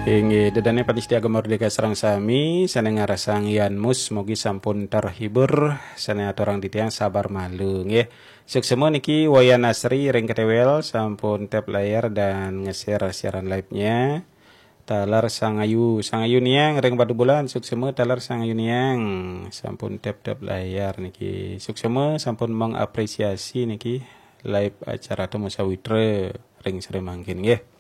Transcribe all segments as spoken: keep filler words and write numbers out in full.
Inggih, ida dané pamiarsa Gema Merdeka sareng sami, sané ngarasang Yan Mus, mugi sampun terhibur, sané aturang titiang sabar malu, nggih. Suksma niki Wayan Asri ring Ketewel, sampun tap layar dan nge-share siaran live-nya. Taler Sang Ayu, Sang Ayu Niang ring Batubulan, suksma taler Sang Ayu Niang, sampun tap-tap layar niki. Suksma sampun mengapresiasi niki live acara Temu Sawitra ring sore mangkin, nggih.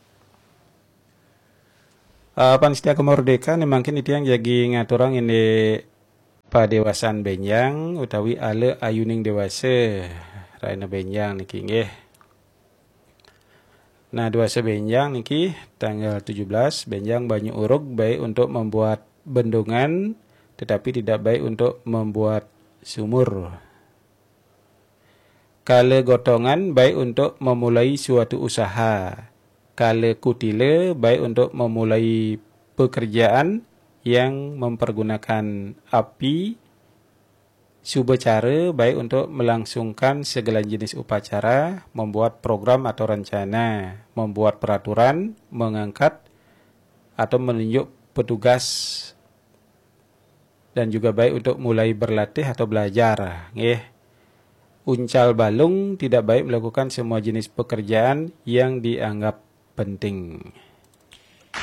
Ah, pamiarsa Gema Merdeka, né mangkin titiang jagi ngaturang indik padéwasan bénjang utawi ala ayuning déwasa rahina bénjang niki, nggih. Nah, déwasa bénjang niki tanggal tujuh belas, bénjang banyu urug baik untuk membuat bendungan, tetapi tidak baik untuk membuat sumur. Kala gotongan baik untuk memulai suatu usaha. Kala kutila baik untuk memulai pekerjaan yang mempergunakan api. Subacara baik untuk melangsungkan segala jenis upacara, membuat program atau rencana, membuat peraturan, mengangkat atau menunjuk petugas, dan juga baik untuk mulai berlatih atau belajar, nggih. Uncal balung tidak baik melakukan semua jenis pekerjaan yang dianggap penting.